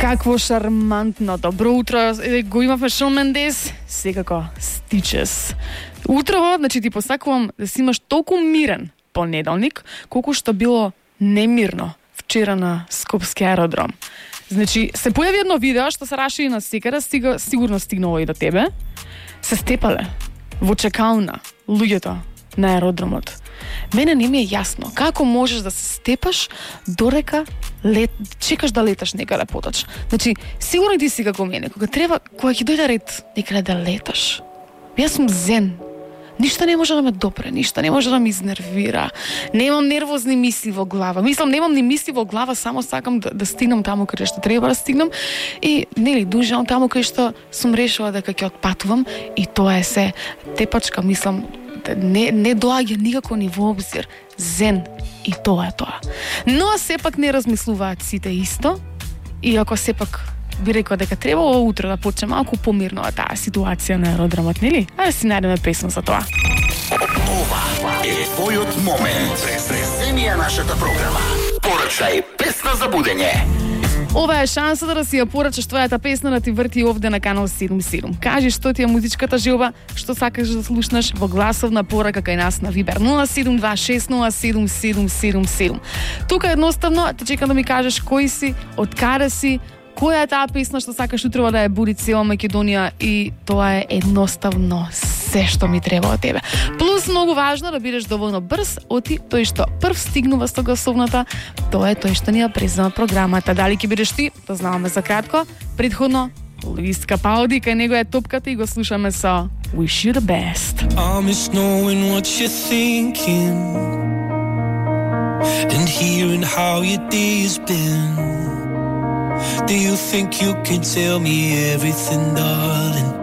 Какво шармантно добро утро. Го имавме Шон Мендес, секако Stitches. Утрово, значи ти посакувам да си имаш толку мирен понеделник, колку што било немирно вчера на Скопски аеродром. Значи, се појави едно видео што се раши на секаде, сигурно стигнало и до тебе. Се степале во чекална луѓето на аеродромот. Мене не ми е јасно како можеш да се степаш дорека чекаш да леташ некаде поточ. Значи, сигурно ти си како мене, кога ќе дојде ред некаде да леташ. Јас сум зен. Ништо не може да ме допре, ништо не може да ме изнервира. Немам нервозни мисли во глава. Немам ни мисли во глава, само сакам да стигнам таму каде што треба да стигнам и дужам таму каде што сум решила дека ќе отпатувам и тоа е се. Тепачка, не доаѓа никако ни во обзир. Зен и тоа е тоа. Но сепак не размислуваат сите исто, иако сепак би рекла дека требало утро да почне малку помирно таа ситуација на аеродромот, нели? А да си најдеме песна за тоа. Ова е твојот момент. Преземија нашата програма. Порачај песна за будење. Ова е шансата да си ја порачаш твојата песна да ти врти овде на канал 77. Кажи што ти е музичката желба, што сакаш да слушнаш во гласовна порака кај нас на Вибер 072607777. Тука едноставно те чекам да ми кажеш кој си, од каде си, која е таа песна што сакаш утрово да ја буди цела Македонија и тоа е едноставно се што ми треба од тебе. Плюс многу важно да бидеш доволно брз, оти тој што прв стигнува со гласовната, тоа е тој што ни ја презема програмата. Дали ќе бидеш ти, то знаваме за кратко. Предходно Луис Капалди, кај него е топката и го слушаме со Wish You The Best. I miss knowing what you're thinking and hearing how your day's been. Do you think you can tell me everything, darling?